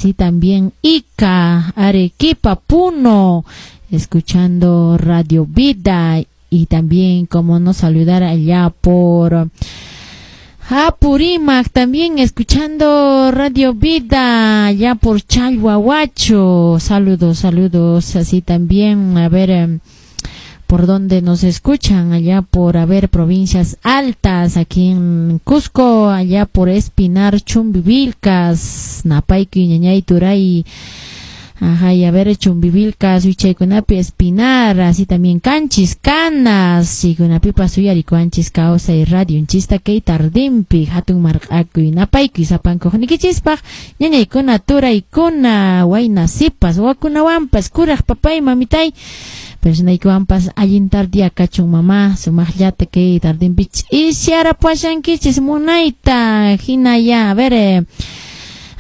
Así también Ica, Arequipa, Puno, escuchando Radio Vida. Y también como no saludar allá por Apurímac, también escuchando Radio Vida, allá por Chalhuahuacho. Saludos, saludos. Así también, a ver, por dónde nos escuchan, allá por, a ver, provincias altas, aquí en Cusco, allá por Espinar, Chumbivilcas, Napayki, Ñañay, Turay, ajá, y a ver, Chumbivilcas, Wichaykunapi, Espinar, así también Canchis, Canas, Chaykunapipas uyarikuanchis, Kawsay Radio, nchista kay tardimpi, hatun marq'akuy, napaykuy, sapankuqniykichispaq, ñañaykuna, turaykuna, wayna sipas, wawakunawanpas, kuraq papay, mamitay, personaykiwanpas allin tardia kachun mamá, sumaqllata kay tardimpi ch'isiyarapushankichis munayta, hina ya, a ver,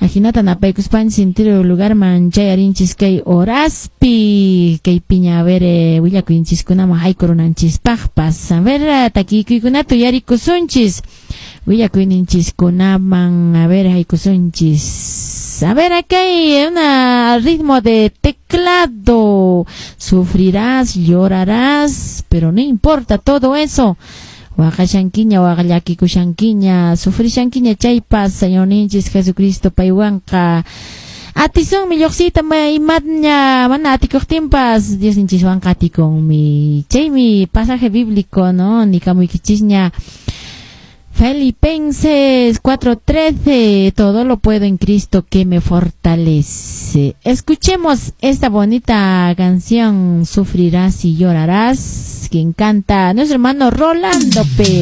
ajinata napaykuspanchis entero lugarman chayarinchis kay horaspi, kay piña, a ver, willakuynchiskunaman haykurunanchispaqpas, a ver, takikuykunata uyarikusunchis, willakuyninchiskunaman, a ver, haykusunchis. A ver, acá hay un ritmo de teclado. Sufrirás, llorarás, pero no importa todo eso. Waqashankiña, waqllakikushankiña, sufrishankiña chaypas, Señorninchis Jesucristo paywanqa. Atisunmi lluqsiyta imatña mana atikuqtinpas Diosninchiswanqa atikunmi. Chaymi pasaje bíblico, ¿no? Nikamuykichisña. Filipenses 4:13, todo lo puedo en Cristo que me fortalece. Escuchemos esta bonita canción, Sufrirás y llorarás, quien canta nuestro hermano Rolando Pérez.